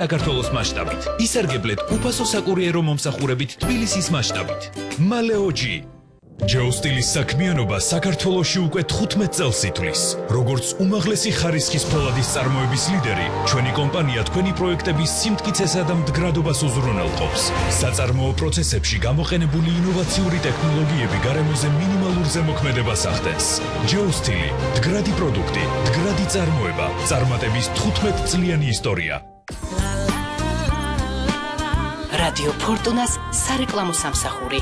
საქართველოს მასშტაბით. ისარგებლეთ უფასო საკურიერო მომსახურებით თბილისის მასშტაბით. მალეოჯი ჯეოსტილის საქმიანობა საქართველოში უკვე 15 წელს ითვლის. როგორც უმაღლესი ხარისხის ფოლადის წარმოების ლიდერი, ჩვენი კომპანია თქვენი პროექტების სიმტკიცესა და მდგრადობას უზრუნველყოფს. საწარმოო პროცესებში გამოყენებული ინოვაციური ტექნოლოგიები გარემოზე მინიმალურ ზემოქმედებას ახდენს. ჯეოსტილი, მდგრადი პროდუქტი, მდგრადი წარმოება, წარმატების 15 წლიანი ისტორია. რადიო ფორტუნას სარეკლამო სამსახური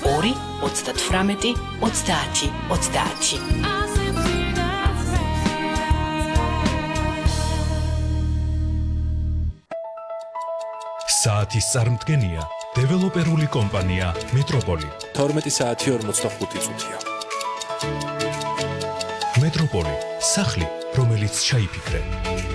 2-38-30-30. საათის წარმდგენია დეველოპერული კომპანია მეტროპოლი. 12 საათი 45 წუთია. მეტროპოლი, სახლი, რომელიც ჩაიფიქრე.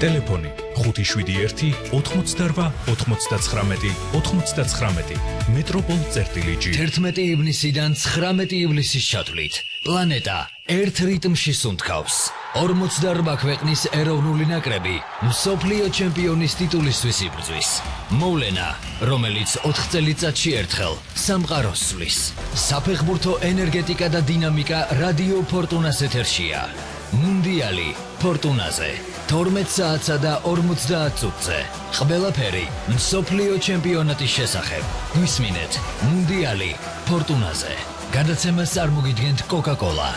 ტელეფონი 578-88-99. მეტროპოლ.gr. 11 ივნისიდან 19 ივლისის ჩათვლით პლანეტა ერთ რიტმში სუნთქავს. 48 ქვეყნის ეროვნული ნაკრები მსოფლიო ჩემპიონის ტიტულისთვის იბრძვის. მოვლენა, რომელიც 4 წელიწადში ერთხელ სამყაროს სვლის. საფეხბურთო ენერგეტიკა და დინამიკა რადიო ფორტუნას ეთერშია. მუნდიალი ფორტუნაზე 12 საათსა და 50 წუთზე. ყველაფერი მსოფლიო ჩემპიონატის შესახებ. გვისმინეთ მუნდიალი ფორტუნაზე. გადაცემას წარმოგიდგენთ კოკა-კოლა.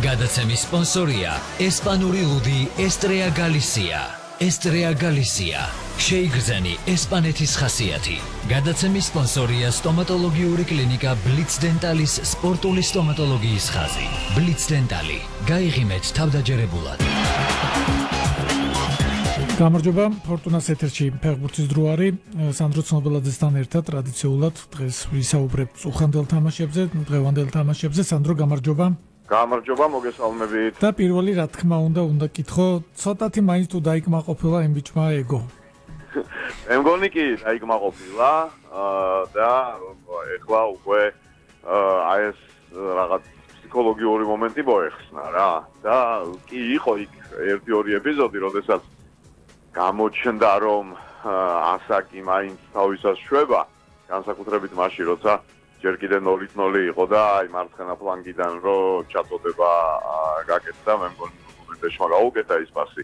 გადაცემის სპონსორია ესპანური ლუდი ესტრეა გალისია. ესტრეა გალისია. შეიგრძენი ესპანეთის ხასიათი. გადაცემის სპონსორია სტომატოლოგიური კლინიკა ბლიც დენტალის სპორტული სტომატოლოგიის ხაზი. ბლიც დენტალი. გაიღიმეთ თავდაჯერებულად. გამარჯობა, ფორტუნას ეთერში ფეხბურთის დრო არის. სანდრო ცნობელაძესთან ერთად ტრადიციულად დღეს ვისაუბრებთ უხანდელ თამაშებზე, დღევანდელ თამაშებზე. სანდრო, გამარჯობა. გამარჯობა, მოგესალმებით. და პირველი რა თქმა უნდა გითხო, ცოტათი მაინც თუ დაიკმაყოფილა იმ ბიჭმა ეგო. მე მგონი კი დაიკმაყოფილა და ეხლა უკვე აი ეს რაღაც ფსიქოლოგიური მომენტი მოეხსნა რა. და კი იყო იქ 1-2 ეპიზოდი, როდესაც გამოჩნდა რომ ასაკი მაინც თავისას შვება, განსაკუთრებით მაშინ, როცა ჯერ კიდე 0-0 იყო და აი მარცხენა ფლანგიდან რო ჩაწოდება გაკეთდა, მე მგონი მომენტეშმა გაუკეთა ის პასი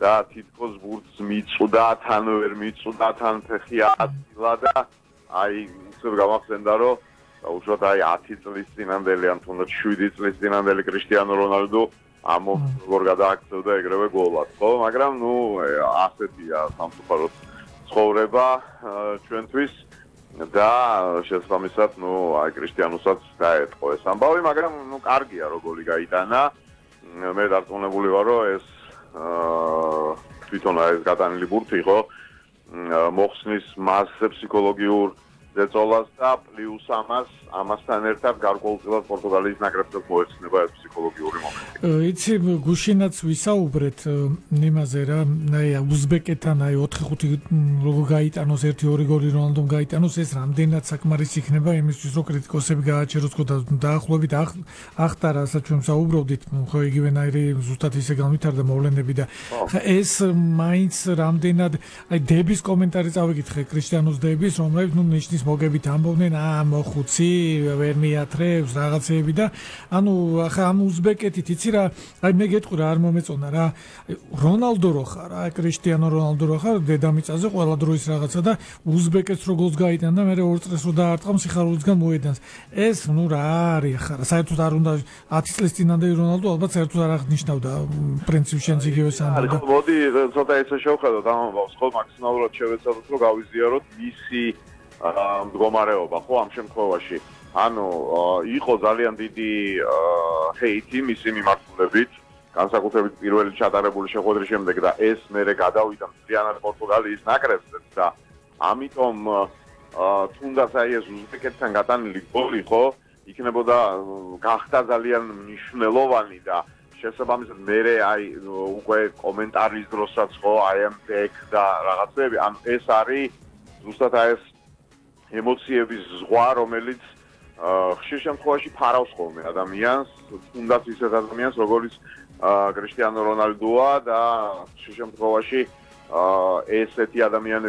და თითქოს ბურთს მიწვდა, თან ვერ მიწვდა, თან ფეხი აწილა და აი ისე გამახსენდა რომ უშუალოდ აი 10 წლის წინანდელი ან თუნდაც 7 წლის წინანდელი კრისტიანო რონალდო ამო როგორ გადააქცევდა ეგრევე გოლად, ხო? მაგრამ ნუ ასეთია სამწუხაროდ ცხოვრება ჩვენთვის და შესაბამისად ნუ აი კრისტიანოსაც დაეთყო ეს ამბავი, მაგრამ ნუ კარგია რო გოლი გაიტანა. მე დარწმუნებული ვარ რომ ეს თვითონ ეს გადანილი ბურთი ხო მოხსნის მასზე ფსიქოლოგიურ ზეწოლას და პლუს ამასთან ერთად გარკვეულწილად პორტუგალიის ნაკრებსაც მოეცნება ეს ფსიქოლოგიური მომენტი. იცი გუშინაც ვისაუბრეთ იმაზე რა, აი უზბეკეთთან აი 4-5 როგორ გაიტანოს 1-2 გოლი რონალდომ გაიტანოს, ეს რამდენად საკმარისი იქნება იმისთვის რომ კრიტიკოსები გააჩეროს და დაახლოებით ახტა რასაც ჩვენ საუბრობდით, ხო იგივენაირი ზუსტად ისე განვითარდა მოვლენები და ეს მაინც რამდენად აი დების კომენტარი წავიკითხე კრისტიანოს დების, რომელიც ნუ ნიშნის მოგებით ამბობდნენ მოხუცი ვერ მიათრევს რაღაცეები და ანუ ახლა ამ უზბეკეთით იცი რა აი მე გეტყვი რა არ მომეწონა რა რონალდო რო ხარ რა კრისტიანო რონალდო რო ხარ დედამიწაზე ყველა დროის რაღაცა და უზბეკეთს რო გოლს გაიტანა და მე 2 წელს რო დაარტყამ სიხარულისგან მოედანს ეს ნუ რა არის ხარ საერთოდ არ უნდა 10 წლის წინანდელი რონალდო ალბათ საერთოდ არ აღნიშნავდა პრინციპში შენც იგივე სამბავდა მოდი ცოტა ესე შევხედოთ ამ ამბავს ხო მაქსიმალურად შევეცადოთ რომ გავიზიაროთ მისი მდგომარეობა ხო ამ შემთხვევაში ანუ იყო ძალიან დიდი ჰეიტი მისი მიმართულებით განსაკუთრებით პირველი ჩატარებული შეხვედრის შემდეგ და ეს მერე გადავიდა მთლიანად პორტუგალიის ნაკრებზეც და ამიტომ თუნდაც აი ეს უზბეკეთთან გატანილი გოლი ხო იქნებოდა გახდა ძალიან მნიშვნელოვანი და შესაბამისად მერე აი უკვე კომენტარის დროსაც ხო I am back და რაღაცები ან ეს არის ზუსტად აი ეს ემოციების ზღვა რომელიც ხშირ შემთხვევაში ფარავს ხოლმე ადამიანს თუნდაც ისეთ ადამიანს როგორიც კრისტიანო რონალდოა და ხშირ შემთხვევაში ესეთი ადამიანები